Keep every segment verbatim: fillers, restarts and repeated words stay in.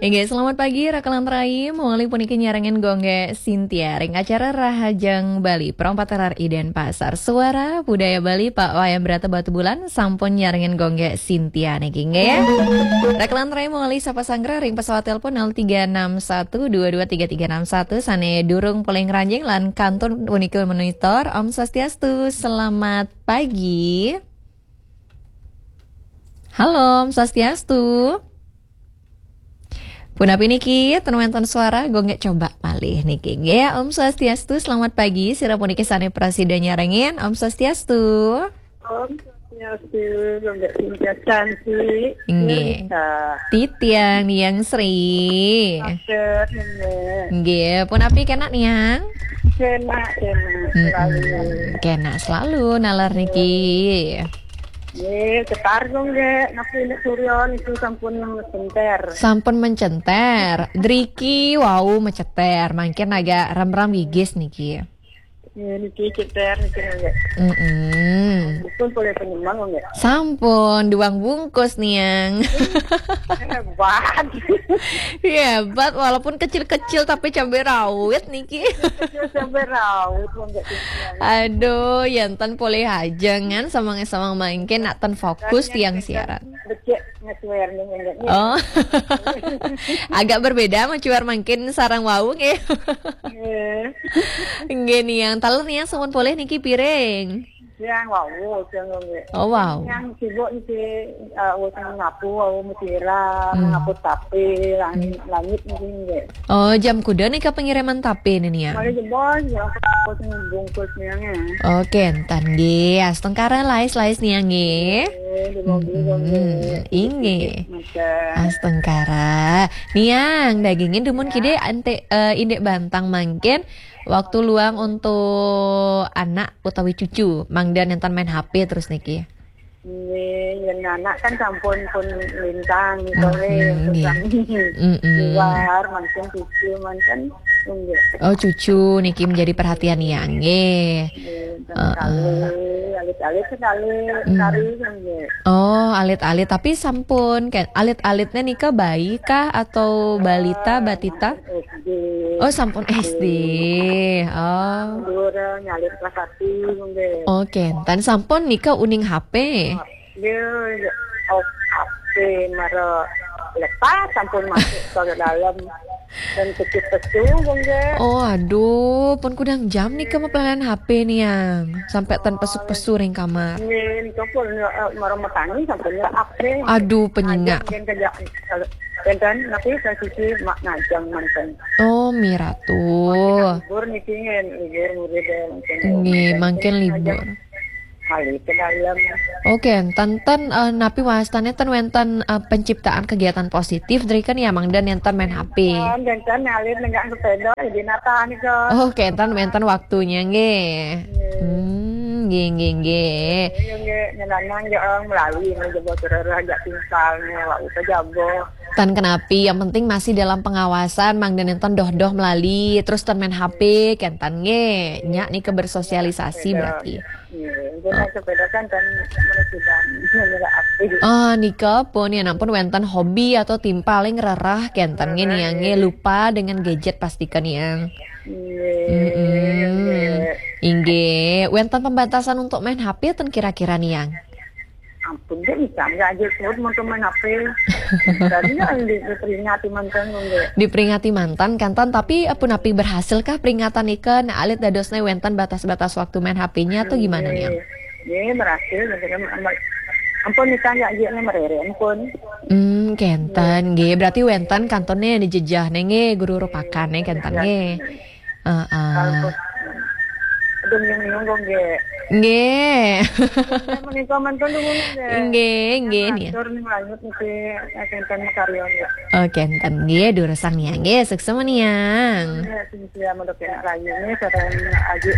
Inggih, selamat pagi, Rakelan Rai. Mawali puniki nyarengin Gung Gek Sintia ring acara Rahajeng Bali, Pro empat R R I Denpasar. Suara Budaya Bali, Pak Wayan Brata Batubulan, sampun nyarengin Gung Gek Sintia niki, nggih. Rakelan Rai mawali sapa sanggra ring pesawat telepon nol tiga enam satu dua dua tiga tiga enam satu, sane durung polih ngranjing lan kantun punika monitor. Om Swastiastu, selamat pagi. Halo, Om Swastiastu. Punapi niki, ten wenten suara, Gung Gek coba malih niki. Nggih, Om Swastiastu, selamat pagi. Sira puniki sane prasida nyarengin. Om Swastiastu. Om Swastiastu, Gung Gek Sintia cantik. Nggih. Nisa. Titiang Niang Sri. Maksud, nggih. Nggih, punapi kenak Niang? Kenak, kenak. Mm-mm. Selalu. Kenak selalu nalar niki. Nggih, cetar kok nggih, napi nek Surya niku sampun mencenter. Sampun mencenter. Driki wau meceter, mangkin agak rem-rem gigis niki. Nggih, niki ceter niki nggih. Mm-mm. Dipun polih penyemang kok nggih. Sampun, duang bungkus Niang. Hebat. Hebat, walaupun kecil-kecil tapi cabai rawit niki. Kecil cabai rawit kok nggih. Aduh, yanten polih aja ngan samang-samang mangkin nak ten fokus tiang siaran. Becik ngesuer nih, nggih. Oh. Agak berbeda macuar mangkin sareng wau nggih. Nggih. Nggih Niang, taler Niang sampun polih niki piring. Yang wau, yang nggih. Oh, wau. Yang sibuk niki, eh, wis ngapu, wau mutiara, hmm, ngapu tape, langit, hmm, langit niki nggih. Oh, jam kuda nika pengiriman tape nih Niang? Malih jebos, ya, wis bungkus Niang ya. Oke, entan nggih. Astungkara lais-lais Niang nggih. Nggih, di mobil, mm-mm, nggih. Inggih. Masa. Astungkara. Niang, dagingin dumun, ya, kide ante, eh, indik bantang mangkin. Waktu luang untuk anak utawi cucu, mangda nenten main H P terus niki. Nggih, yen anak kan sampun pun lintang, hmm, sore, hmm, nggih, sami. Mm-mm. Luar, mangkin cucu, mangkin, nggih. Oh, cucu niki menjadi perhatian ya, nggih. Nggih, heeh, sekali, alit-alit sekali, hmm, sekali, nggih. Oh, alit-alit, tapi sampun, kan, alit-alitnya nika bayi kah atau balita, eh, batita? S D. Oh, sampun S D. Oh. Dhuwur, eh, nyalin kelas satu, nggih. Oh, kenten sampun nika uning H P. Nggih, oh, H P mara lepas sampun masuk ke dalam dan pesu-pesu, nggih. Oh, aduh, pun kudang jam nika mapelanan H P Niang. Sampai ten pesuk-pesu ring kamar. Nggih, nika pun, eh, mara matangi sampun ya H P. Aduh, penyengak. Nggih, kerja, eh, enten, tapi saya sisi mak ngajeng manten. Oh, miratu. Libur niki nggih, libur murid ya, mungkin. Nggih, mungkin mangkin libur. Kali ke dalam. Oke, enten, eh, napi wastane ten wenten, eh, penciptaan kegiatan positif, drika ya mangda nenten main H P. Enten, enten, alit nenggak sepeda, di nata nika. Oke, enten wenten waktunya, nggih. Nggih. Hmm, nggih, nggih, nggih. Iya, nggih, nyelanang ya, orang melalui, nggih, jebos rereh, ajak tingkal, nggih, wak, uta jabo. Tan kenapi, yang penting masih dalam pengawasan, mangda nenten doh-doh melali, terus ten main H P, kenten nggih. Nyak nika bersosialisasi berarti. Iya, nggih, sepeda kan ten menunjukkan, nggih, H P. Oh, nika pun ya ampun wenten hobi atau tim paling rerah, kenten nggih, Niang nggih, lupa dengan gadget pastikan Niang. Nggih, mm-mm, nggih. Inggih, wenten pembatasan untuk main H P ten kira-kira Niang? Ampun, nggih, bisa nggak aja sebut untuk main H P. Tadi ya, di-, diperingati manten, nggih. Diperingati manten, kenten, tapi, eh, punapi berhasil kah peringatan nika? Nah, alit dadosnya wenten batas-batas waktu main H P-nya atau gimana, Niang? Nggih, berhasil, gitu kan. Ampun, nika nggak aja merere, ampun. Hmm, kenten, nggih. Berarti wenten kantonnya di jejah, nggih, guru rupakane, kenten, nggih. Heeh. Kalau aduh, nyung-nyung kok, nggih. Nggih. Menika mantun dulu, nggih. Nggih, nggih, nih. Atur nih, lanjut niki, eh, kenten karya, nggih. Oke, enten nggih, durusang Niang nggih, suksma Niang. Nggih, sing sia modok enak rayu nih, sareng Aji.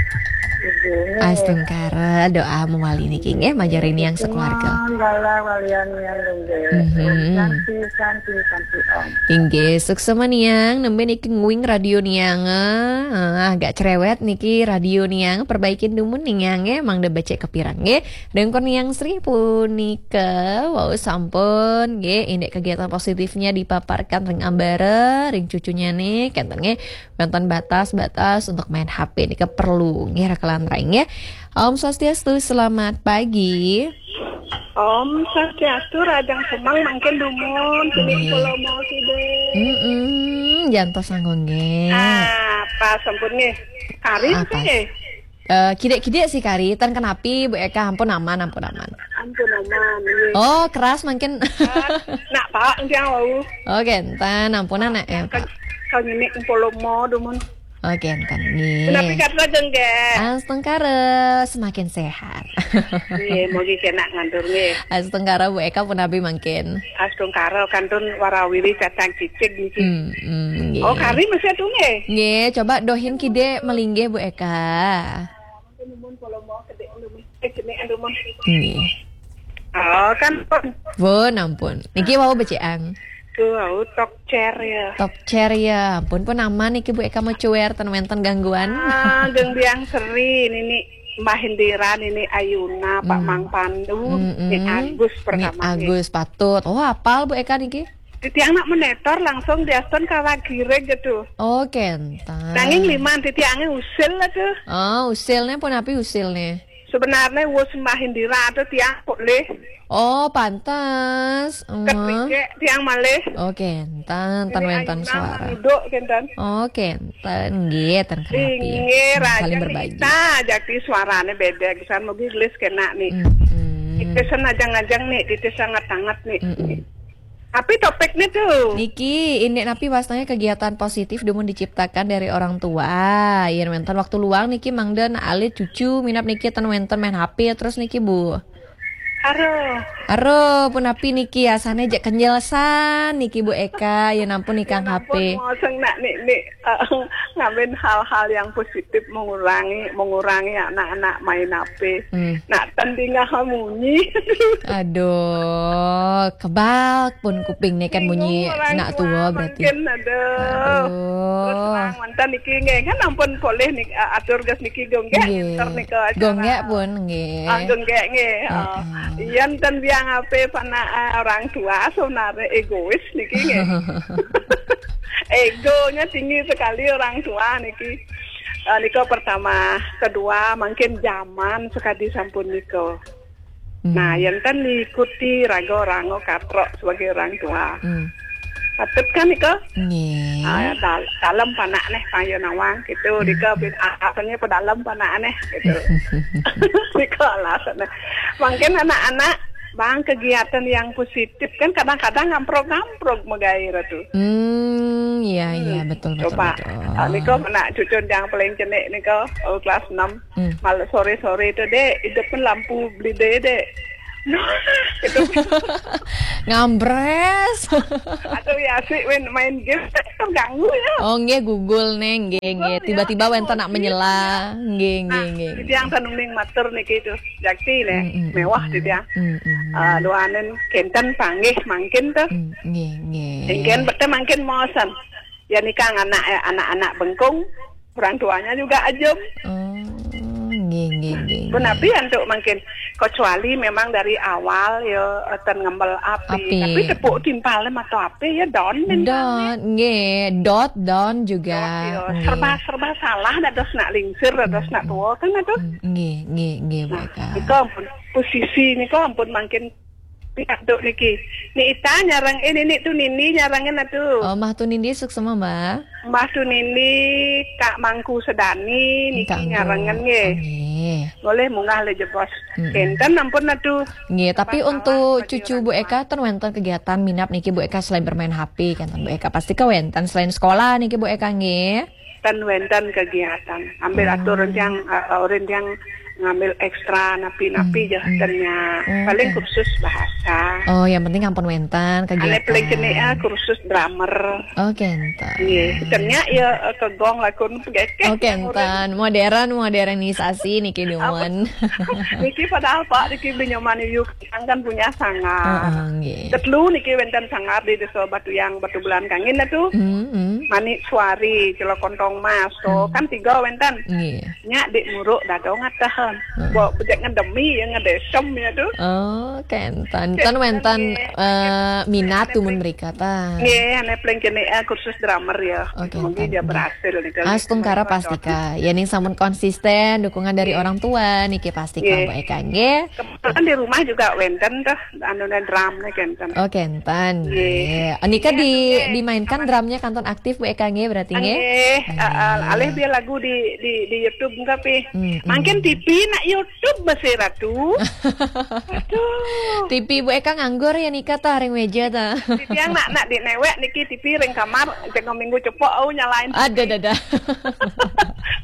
Astungkara, doa mawali niki nggih, majeng ring Niang sakeluarga. Galah walian Niang nggih. Mhm. Santi, santi, santi, Om. Inggih, suksma Niang, nembe niki nguing radio Niang, ah, agak cerewet niki radio Niang, perbaikin dumun Niang nggih, mangda becik kapireng nggih. Ring Niang Sri punika, wau sampun nggih, indik kegiatan positifnya dipaparkan ring ambara, ring cucunyane, kenten nggih. Wenten batas-batas untuk main H P nika perlu nggih, raka lan rai nggih. Om Swastiastu, selamat pagi. Om Swastiastu, rahajeng semeng mangkin dumun, sini Nggih. Pulau mau sini. Mm-mm, jantos anggo nggih. Ah, pas sampun nggih. Kari Ah, sih pas. Nggih. Eh, kidik-kidik sih kari, tan kenapi Bu Eka, ampun aman, ampun aman. Ampun aman, nggih. Oh, keras mangkin. Ah, nak Pak, nggih wau. Oh, kenten, ampunan nak ya, Pak. Kau nyenik empolomo dumun. Oh, kenten, nggih. Menapi katra jengge. Astungkara, semakin sehat. Nggih, mugi kena ngantur nggih. Astungkara Bu Eka punapi mangkin. Astungkara kantun warawiri cacang cicing niki. Hmm, hmm, nggih. Oh, kari masih atuh nggih. Nggih, coba dohin kidik malinggih Bu Eka. Numun polomo kedik numun. Eh, jenik numun. Nggih. Oh, kan pun. Pun ampun. Niki wau becikan. Tuh, wau talk chair ya. Talk chair ya. Ampun pun aman niki Bu Eka mau cuer ten wenten gangguan. Ah, geng biang seri nini Mbah Indira nini Ayuna, Pak Hmm. Mang Pandu, Mm-mm. Ni Agus Ni pertama nggih. Agus patut. Oh, apal Bu Eka niki? Titiang nak menetor langsung diaston kawagireg gitu. Oh, kenten. Nanging liman titiange usil lah tuh. Oh, usilne punapi usilne? Sebenarnya wus Mbah Indira tuh tiang polih. Oh, pantes. Heeh. Ketrike tiang malih. Oh, kenten. Tan Ini wenten ayunan suara. Duduk kenten. Oh, kenten. Nggih, ten kenapi. Inggih, Hmm, saling rajang berbagi. Kita jati suarane beda, kisan mugi gelis kena nih. Mm-mm. Titisan ajang-ajang nih, titis sangat-sangat nih. Mm-mm. Tapi topiknya tuh. Niki, indik napi wastanya kegiatan positif dumun diciptakan dari orang tua. Yen wenten waktu luang niki mangda alit cucu minab niki ten wenten main H P terus niki, Bu. Aduh. Aduh, punapi niki asane jak kenjelasan niki Bu Eka, yen ampun nikang Yen ampun H P. Moseng nak nik nik eh, ngambil hal-hal yang positif mengurangi mengurangi anak-anak main H P. Hmm. Nak tanding munyi. Aduh, kebal pun kuping nih kan munyi. Bingung orang nak tua tua berarti. Mungkin ada. Aduh. Terus terang mantan niki nggih kan ampun polih nih eh, atur gas niki gonggek Nggih. Ntar nika acara. Gonggek pun nggih. Ah, gonggek nggih. Ah. Heeh. Iya enten biang apa panak eh, orang tua sebenarnya egois niki nggih. Egonya tinggi sekali orang tua niki. Eh, nika pertama, kedua mungkin zaman sekadi sampun nika. Hmm. Nah, yang kan diikuti raga orang katro sebagai orang tua. Hmm. Patut kan nika? Nggih. Ah, dal- dalam panak neh payo nawang gitu. Hmm. Nika bin alasannya pedalem panak neh gitu. Nika alasannya. Mungkin anak-anak bang kegiatan yang positif kan kadang-kadang ngamprog-ngamprog megai ratu. Hmm, iya iya Hmm, betul betul coba. Betul. Ah, nika anak cucu yang paling cenik nika oh, kelas enam. Hmm. Malah sore-sore itu dek, hidupin lampu beli dek. Nah, gitu. Ngambres. Atau ya sih main, main game terganggu ya. Oh, nggih Google nih, nggih nggih. Google, ya. Tiba-tiba wenten nak menyela. Nggih nggih Nah, nggih. Itu yang tanung ning matur niki itu. Jakti nih, Mm, mm, mewah mm, gitu ya. Mm, mm. Ah, luanen kenten panggih mangkin tuh. Mm, nggih nggih. Ingken bete mangkin mosen. Ya nikah anak eh, anak-anak bengkung, orang tuanya juga ajem. Oh, nggih nggih nggih. Pun nggih. Api untuk mangkin kecuali memang dari awal ya eh, ten ngembel api. Api. Tapi tepuk timpalnya atau api ya don. Don, nggih, dot don juga. Dot, ya. Nggih. Serba serba salah dados nak lingsir dados nak tua kan aduh. Mm, nggih nggih nggih. Nah, mereka. Itu ampun posisi ini kok ampun mangkin pihak dok niki. Ni Ita nyarang eh nini tu Nindi nyarangin atuh. Oh, Mah tu Nindi suksema, Mbak. Mbah tu Nindi Kak Mangku Sedani niki Kak Anggo. Nyarangin nggih. Oh, nggih. Boleh munggah le jebos. Mm-mm. Kenten ampun atuh. Nggih, tapi untuk cucu Bu Eka ten wenten kegiatan minab niki Bu Eka selain bermain H P kenten Bu Eka pasti ke wenten selain sekolah niki Bu Eka nggih. Ten wenten kegiatan. Ambil atur rencang uh, rencang ngambil ekstra napi-napi Hmm, je hmm. ternya. Oh, Paling oke. Kursus bahasa. Oh, yang penting ampun wenten Ane paling kene ah kegiatan. Kursus drummer. Oh, kenten. Iya, ternya ya eh, ke gong lakun pegekeh. Oh, kenten. Modern, modernisasi niki dumun. Niki padahal Pak niki binyoman yuk kan punya sangar. Heeh, nggih. Tetelu niki wenten sangar di Desa Batuyang, Batubulan Kangin dah tu. Hmm, hmm. Manik Suari, Celok Kontong Mas, so Hmm. Kan tiga wenten. Nggih. Nya di Muruk Dadong atahan. Hmm. Bo bejek ngedemi ya ngedesem ya tu. Oh, kenten. Kenten, Tan wenten nggih. eh, minat Ane dumun paling- mereka ta. Nggih, ane paling kene ah Kursus drummer ya. Oke, Mungkin kenten. dia berhasil nih. Astungkara pastika. Ya ning sampun konsisten dukungan dari orang tua niki pastika Nggih. Bu Eka nggih. Kebetulan di rumah juga wenten tuh anu drum nih kenten. Oh, kenten. Nggih. Nggih. Nika Iya, di nggih. dimainkan drumnya kantun aktif Bu Eka nggih berarti nggih. Nggih, Nggih. alih dia lagu di di di YouTube enggak pi. Hmm, hmm. Makin T V nak YouTube masih Ratu. Aduh. T V Bu Eka nganggur ya nika ta ring meja ta. Di tiang nak nak di newek niki T V ring kamar jenggo minggu cepok au nyalain. Ada dada.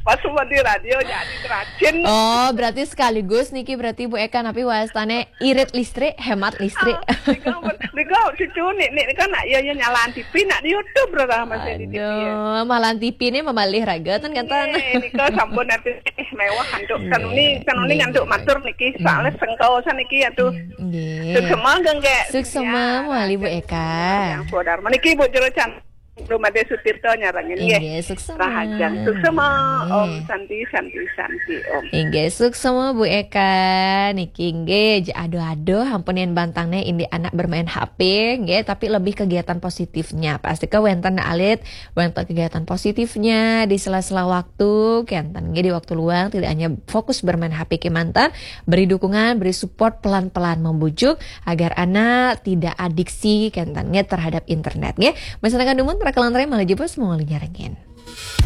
Pas semua di radio jadi teracin. Oh, berarti sekaligus niki berarti Bu Eka napi wastane irit listrik, hemat listrik. Nika cucu ni ni kan nak ya ya nyalaan T V nak di YouTube berarti masih di T V. Ya. Aduh, malah T V ni mabalih raga tan kenten. Eh, nika sampun nanti eh, mewah untuk kanuni kanuni Nggih, ngantuk nggih. Matur niki soalnya sengkau saniki atuh. Nggih. Suksema gengge. Suksema mawali Bu Eka. Yang saudara. Meniki Bu Jero Can. Rumah Desa Tirta nyarengin nggih. Inggih, suksema. Rahajeng. Suksema. Om Nggih. Santi Santi Santi Om. Inggih, suksema Bu Eka. Niki inggih je aduh-aduh ampun yen bantangne indik anak bermain H P nggih, tapi lebih kegiatan positifnya. Pasti ke wenten alit, wenten kegiatan positifnya di sela-sela waktu, kenten nggih di waktu luang tidak hanya fokus bermain H P kemanten, beri dukungan, beri support pelan-pelan membujuk agar anak tidak adiksi kenten nggih terhadap internet nggih. Masyarakat dumun para kelantaran malah jebos mau nyarengin.